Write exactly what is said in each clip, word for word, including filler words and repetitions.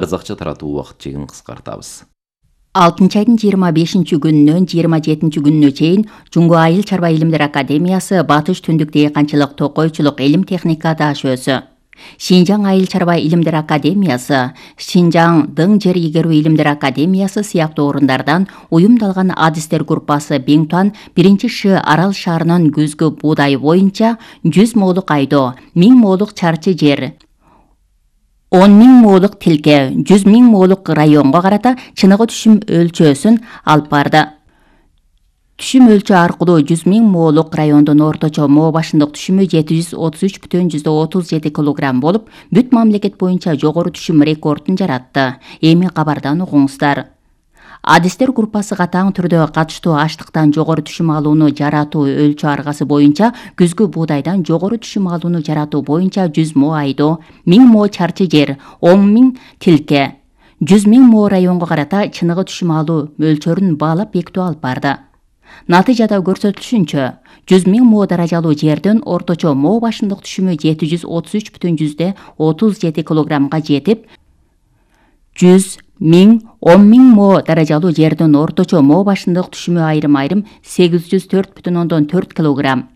казакча таратуу убакыт чегин кыскартабыз. алтынчы айдын жыйырма бешинчи күнүнөн жыйырма жетинчи күнүнө чейин Жуңгу Айыл чарба илимдер академиясы Батыш түндүк дыйканчылык токойчулук илим техника дашөөсү, Шинжаң Айыл чарба илимдер академиясы, Шинжаң Дың жер ийгерүү илимдер академиясы сыяктуу орундардан уюмдалган адистер группасы Беңтуан биринчи Ш Арал шаарынын күзгү буудай боюнча жүз моолук айдоо, миң моолук чарчы жер, он миң моолук тилке, жүз миң моолук районго карата чыныгы түшүм өлчөөсүн алып барды. Түшүм өлчөө аркылуу жүз миң моолук райондун орточо моо башындык түшүмү жети жүз отуз үч бүтүн жүздөн отуз жети килограмм болуп, бүт мамлекет боюнча жогору түшүм рекордун жаратты. Эми кабардан угуңуздар. Адистер группасы катаң түрдө катыштуу аштыктан жогору түшүм алууну жаратуу өлчөө аргасы боюнча күзгү буудайдан жогору түшүм алууну жаратуу боюнча жүз мо айдоо, миң мо чарчы жер, он миң тилке, жүз миң мо районго карата чыныгы түшүм алуу мөлчөрүн баалап бекитүү алып барды. Натыйжада көрсөтүлүшүнчө, жүз миң мо даражалуу жердин орточо мо башындык түшүмү жети жүз отуз үч бүтүн жүздөн отуз жети килограммга жетип, жүз миң он миң мо даражалуу жердин орточо мо башындык түшүмү айрым-айрым сегиз жүз төрт бүтүн ондон төрт килограмм,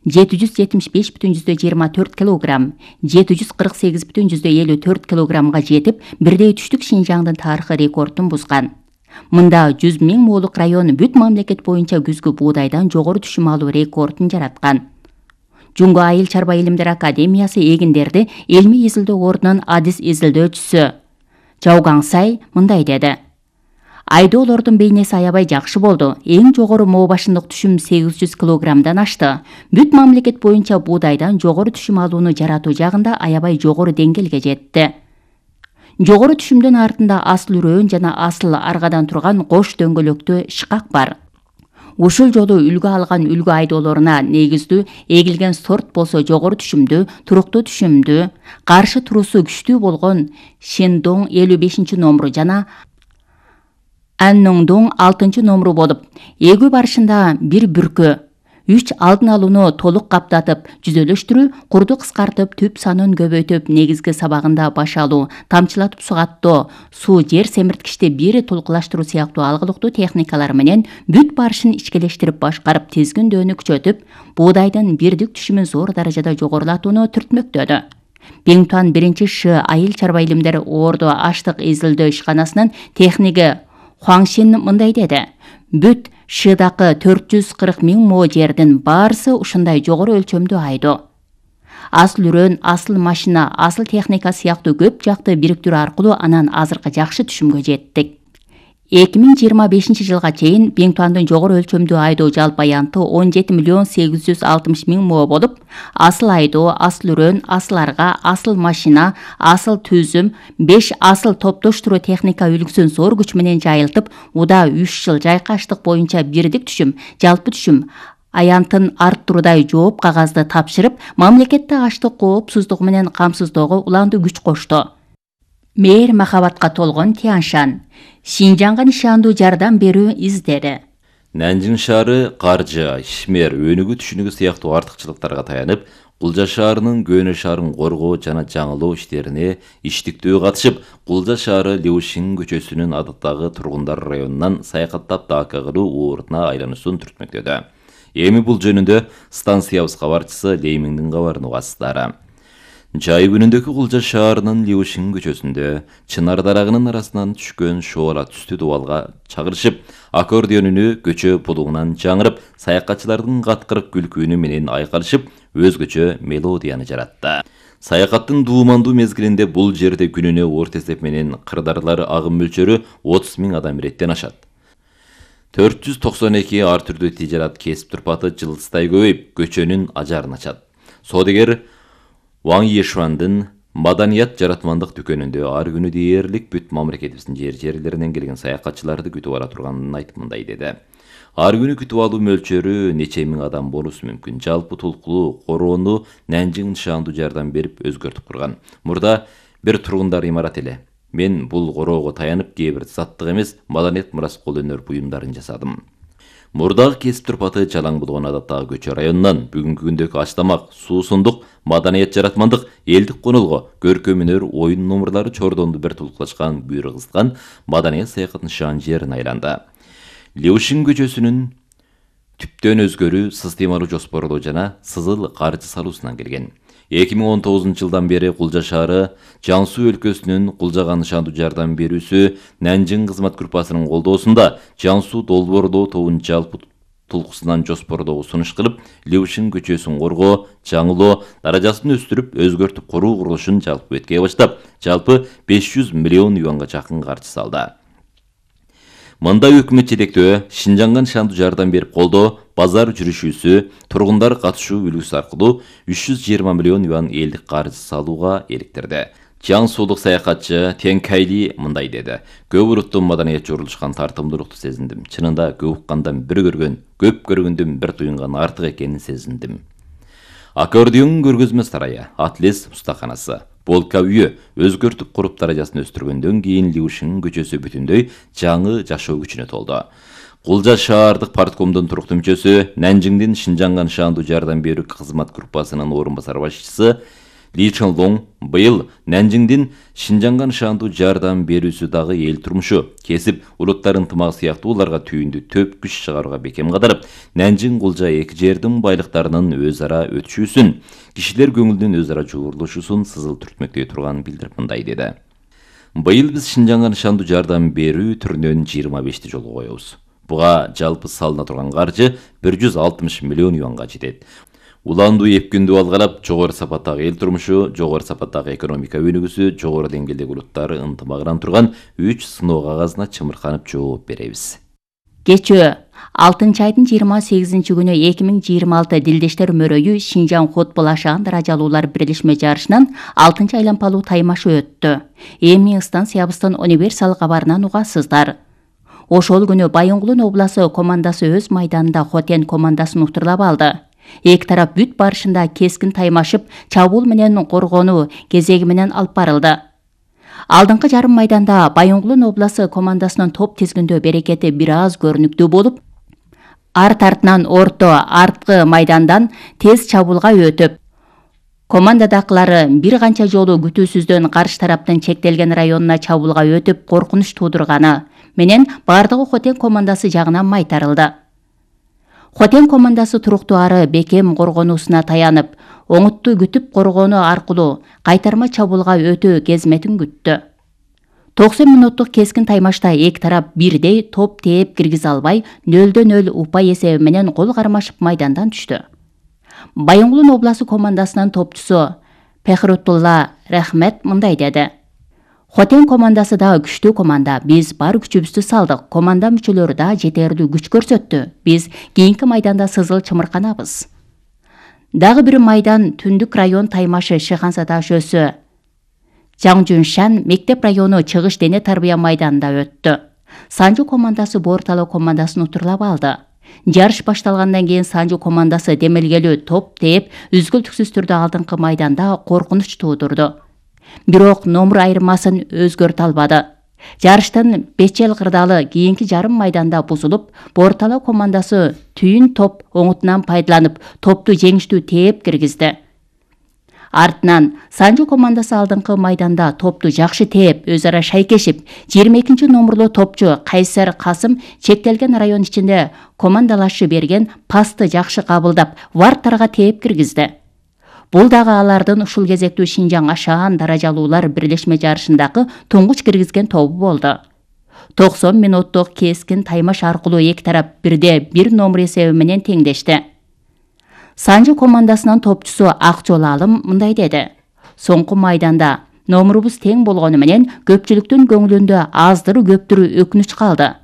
жети жүз жетимиш беш бүтүн жүздөн жыйырма төрт килограмм, жети жүз кырк сегиз бүтүн жүздөн элүү төрт килограммга жетип, бирдей түштүк Шинжаңдын тарыхый рекордун бузган. Мында жүз миң моолук район бүт мамлекет боюнча күзгү буудайдан жогору түшүм алуу рекордун жараткан. Жуңгу Айыл чарба илимдер академиясы эгиндерди илмий изилдөө ордунун адис изилдөөчүсү Жаугаңсай мындай деди. Айдоолордун бейнеси аябай жакшы болду. Эң жогору мо башындык түшүм сегиз жүз килограммдан ашты. Бүт мамлекет боюнча буудайдан жогору түшүм алууну жаратуу жагында аябай жогору деңгээлге жетти. Жогору түшүмдүн артында асыл үрөөн жана асыл аргадан турган кош дөңгөлөктүү шкак бар. Ушул жолу үлгү алган үлгү айдоолоруна негиздүү эгилген сорт болсо жогору түшүмдүү, туруктуу түшүмдүү, каршы туруусу күчтүү болгон Шендоң элүү бешинчи номуру жана Анноңдоң алтынчы номуру болуп, эгүү барышында бир бүркө үч алдын алууну толук каптатып, жүзөлөштүрүү, курду кыскартып, түп санын көбөйтүп, негизги сабагында баш алуу, тамчылатып сугаттоо, суу жер семирткичти бири толкулаштыруу сыяктуу алгылыктуу техникалар менен бүт барышын ичкелештирип башкарып, тизгиндөөнү күчөтүп, буудайдын бирдик түшүмүн зор даражада жогорулатууну түртмөктөдү. Беңтуан биринчи Ш Айыл чарба илимдер орду аштык изилдөө ишканасынын техниги Хуаңшин мындай деди. Бүт Шыдакы төрт жүз кырк миң мо жердин баарысы ушундай жогору өлчөмдүү айдоо. Асыл үрөөн, асыл машина, асыл техника сыяктуу көп жакты бириктирүү аркылуу анан азыркы жакшы түшүмгө жеттик. эки миң жыйырма бешинчи жылга чейин Беңтуандын жогору өлчөмдүү айдоо жалпы аянты он жети миллион сегиз жүз алтымыш миң мо болуп, асыл айдоо, асыл үрөөн, асыл арга, асыл машина, асыл түзүм, беш асыл топтоштуруу техника үлгүсүн зор күч менен жайылтып, уда үч жыл жайкаштык боюнча бирдик түшүм, жалпы түшүм аянтын арттыруудай жооп кагазды тапшырып, мамлекетте аштык коопсуздугу менен камсыздоого уланды күч кошту. Мээр махабатка толгон Тяншан, Шинжаңга нишандуу жардам берүү издери. Нанжың шаары каржы, ишмер, өнүгүү түшүнүгү сыяктуу артыкчылыктарга таянып, Кулжа шаарынын Көөнө шаарын коргоо жана жаңылоо иштерине иштиктүү катышып, Кулжа шаары Леушин көчөсүнүн адаттагы тургундар районунан саякаттап дака кылуу ууртуна айлануусун түртмөктөдү. Эми бул жөнүндө станциябыз кабарчысы Леймиңдин кабарын угасыздар. Жай күнүндөгү Кулжа шаарынын Леушин көчөсүндө чынар дарагынын арасынан түшкөн шоола түстүү дубалга чагырышып, аккордеонүнү көчө булугунан жаңырып, саякатчылардын каткырык күлкүүнү менен айкалышып, өзгөчө мелодияны жаратты. Саякаттын дуумандуу мезгилинде бул жерде күнүнө орто эсеп менен кырдаарлар агым мөлчөрү отуз миң адам иреттен ашат. төрт жүз токсон эки ар түрдүү тижарат кесип турпаты жылдыздай көбөйүп, көчөнүн ажарын ачат. Соодагер Ваң Ешуандын маданият жаратмандык дүкөнүндө ар күнү дээрлик бүт мамлекетибиздин жер жерлеринен келген саякатчыларды күтүп ала турганын айтып мындай деди. Ар күнү күтүп алуу мөлчөрү нече миң адам болушу мүмкүн. Жалпы толкулуу короону Нанжың нишандуу жардам берип өзгөртүп курган. Мурда бир тургундар имарат эле. Мен бул короого таянып, кээ бир заттык эмес, маданият мурас кол өнөр буюмдарын жасадым. Мурдагы кесип турпаты жалаң болгон адаттагы Көчө районунан бүгүнкү күндөгү Ачтамак, суусундук, маданият жаратмандык, элдик конолго, көркөм өнөр, оюн номурлары чордонду бир тулукташкан, бүйүр кызыткан маданият саякатын шаан жерине айланды. Леушин көчөсүнүн түптөн өзгөрүү системалуу жоспорлоо жана сызыл каржы салуусунан келген. эки миң он тогузунчу жылдан бери Кулжа шаары Жан Суу өлкөсүнүн Кулжага нышандуу жардам берүүсү Нанжың кызмат группасынын колдоосунда Жан Суу долбоорлоо тобун жалпы тулкусунан жоспорлоого сунуш кылып, Леушин көчөсүн коргоо, жаңылоо, даражасын өстүрүп, өзгөртүп куруу курулушун жалпы бетке баштап, жалпы беш жүз миллион юанга жакын каржы салды. Мында өкмөт жетектөө Шинжаңга нышандуу жардам берип колдоо, базар жүрүшүүсү, тургундар катышуу үлгүсү аркылуу үч жүз жыйырма миллион юан элдик каржы салууга иликтирди. Жан Суулук саякатчы Тен Кайли мындай деди: "Көп уруттуу маданият жорулушкан тартымдуулукту сезиндим. Чынында көп уккандан бир көргөн, көп көргөндөн бир туюнган артык экенин сезиндим." Аккордеондун көргөзмө сарайы, Атлес устаканасы, Полка үйү өзгөртүп куруп даражасын өстүргөндөн кийин Леушин көчөсү бүтүндөй жаңы жашоо күчүнө толду. Кулжа шаардык парткомдун туруктуу мүчөсү, Нанжыңдын Шинжаңга нышандуу жардам берүү кызмат группасынын орун басар башчысы Ли Чонлонг быйыл Нанжыңдын Шинжаңга нышандуу жардам берүүсү дагы эл турмушу, кесип, улуттар ынтымагы сыяктууларга түйүндү төп күч чыгарууга бекем катарып, Нанжың Кулжа эки жердин байлыктарынын өз ара өтүшүүсүн, кишилер көңүлдүн өз ара жуурулушуусун сызыл түртмөктөй турганын билдирип мындай деди: "Быйыл биз Шинжаңга нышандуу жардам берүү түрүнөн жыйырма бешти жолго коебуз. Буга жалпы салына турган каржы бир жүз алтымыш миллион юанга жетет. Уландуу эпкүндү алгалап, жогору сапаттагы эл турмушу, жогору сапаттагы экономика өнүгүүсү, жогору деңгээлдеги улуттар ынтымагынан турган үч сыноо кагазына чымырканып жооп беребиз." Кечөө алтынчы айдын жыйырма сегизинчи күнү эки миң жыйырма алты Дилдештер өмөрөйү Шинжаң футбол ашаан даражалуулар бирлешме жарышынан алтынчы айлампалуу таймашы өттү. Эми станциябыздын универсал кабарынан угасыздар. Ошол күнү Байоңгулун обласы командасы өз майданында Хотен командасын утурлап алды. Эки тарап бүт барышында кескин таймашып, чабуул менен коргонуу кезеги менен алып барылды. Алдыңкы жарым майданда Байоңгулун обласы командасынын топ тизгиндөө берекети бир аз көрүнүктүү болуп, арт артынан орто арткы майдандан тез чабуулга өтүп, командадакылары бир канча жолу күтүүсүздөн каршы тараптын чектелген районуна чабуулга өтүп коркунуч туудурганы менен бардыгы Хотен командасы жагынан майтарылды. Хотен командасы туруктуу ары бекем коргонуусуна таянып, оңутту күтүп коргонуу аркылуу кайтарма чабуулга өтүү кезметин күттү. токсон мүнөттүк кескин таймашта эки тарап бирдей топ тээп киргизе албай, нөлдөн нөл упай эсеби менен кол кармашып майдандан түштү. Байоңгулун обласы командасынын топчусу Пехрутулла Рахмет мындай деди: "Хотен командасы да күчтүү команда. Биз бар күчүбүздү салдык. Команда мүчөлөрү да жетерлүү күч көрсөттү. Биз кийинки майданда сызыл чымырканабыз." Дагы бир майдан Түндүк район таймашы Шыханса даашөсү Жаңжуншан мектеп району Чыгыш дене тарбия майданында өттү. Санжу командасы Бортало командасын утурлап алды. Жарыш башталгандан кийин Санжу командасы демелгелүү топ тээп, үзгүлтүксүз түрдө алдыңкы майданда коркунуч туудурду. Бирок номер айырмасын өзгөртө албады. Жарыштын бечел кырдаалы кийинки жарым майданда бузулуп, Бортало командасы түйүн топ оңутунан пайдаланып, топту жеңиштүү тээп киргизди. Артынан Санжу командасы алдыңкы майданда топту жакшы тээп, өз ара шайкешип, жыйырма экинчи номерлуу топчу Кайсар Касым чектелген район ичинде командалашы берген пасты жакшы кабылдап, варттарга тээп киргизди. Бул дагы алардын ушул кезектүү Шинжаң ашаан даражалуулар бирлешме жарышындагы туңгуч киргизген тобу болду. токсон мүнөттүк кескин таймаш аркылуу эки тарап бирде бир номер эсеби менен теңдешти. Санжу командасынын топчусу Акжол Алым мындай деди: "Соңку майданда номерубуз тең болгону менен көпчүлүктүн көңүлүндө аздыры көптүрү өкүнүч калды.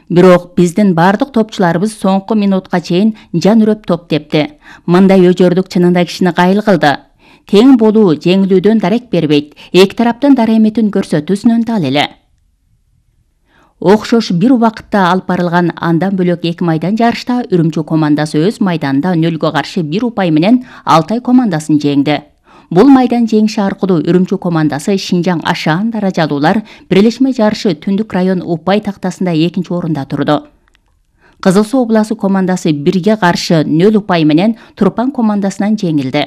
Бирок биздин бардык топчуларыбыз соңку минутка чейин жан үрөп топ тепти. Мындай өжөрдүк чынында кишини кайыл кылды. Тең болуу жеңилүүдөн дарек бербейт. Эки тараптын дараметин көрсөтүүсүнөн дал эле." Окшош бир убакытта алып барылган андан бөлөк эки майдан жарышта Үрүмчү командасы өз майданында нөлгө каршы бир упай менен Алтай командасын жеңди. Бул майдан жеңиши аркылуу Үрүмчү командасы Шинжаң ашаан даражалуулар бирлешме жарышы Түндүк район упай тактасында экинчи орунда турду. Кызыл Суу областы командасы бирге каршы нөл упай менен Турпан командасынан жеңилди.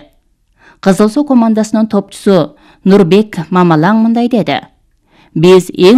Кызыл Суу командасынын топчусу Нурбек Мамалаң мындай деди: Биз эң